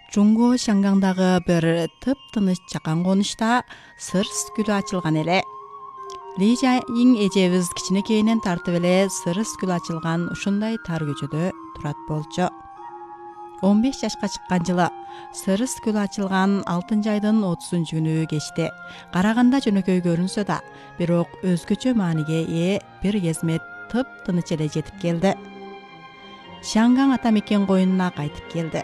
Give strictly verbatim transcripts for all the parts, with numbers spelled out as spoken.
Жуңго Шангаңдагы бир тып-тыныч жакан конушта сырс гүлү ачылган эле. Ли Жайиң эжебиз кичинекейинен тартып эле сырс гүл ачылган ушундай тар көчөдө турат болчу. он беш жашка чыккан жылы сырс гүл ачылган алтынчы айдын отузунчу күнү кечти. Караганда жөнөкөй көрүнсө да, бирок өзгөчө мааниге ээ бир кезмет тып-тыныч эле жетип келди. Шангаң ата мекен коюнуна кайтып келди.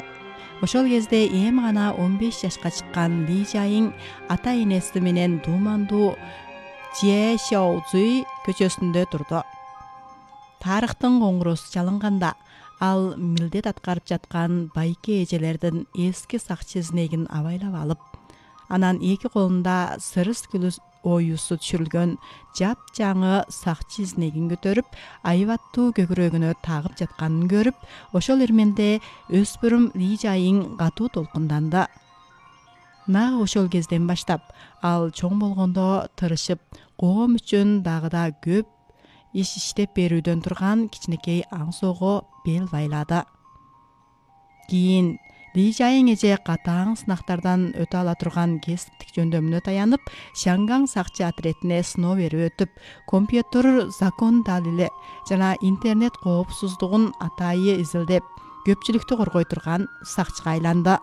Ошол кезде эми гана он беш жашка чыккан Ли Жайиң ата энеси менен Думандуу Жешоузуй көчөсүндө турду. Тарыхтын коңгуросу чалынганда ал милдет аткарып жаткан байке эжелердин эски сакчы изнегин абайлап алып, анан эки колунда сырс гүлү оюусу түшүрүлгөн жапжаңы сакчы изнегин көтөрүп, айбаттуу көкүрөгүнө тагып жатканын көрүп, ошол ирменде өспүрүм Ли Жайиң катуу толкунданды. Нагы ошол кезден баштап ал чоң болгондо тырышып, коом үчүн дагы да көп иш иштеп берүүдөн турган кичинекей аңсоого бел байлады. Кийин Ли Жайиң эже катаң сынактардан өтө ала турган кесиптик жөндөмүнө таянып, Шангаң сакчы отрядине сыноо берип өтүп, компьютер закон далили жана интернет коопсуздугун атайы изилдеп, көпчүлүктү коргой турган сакчыга айланды.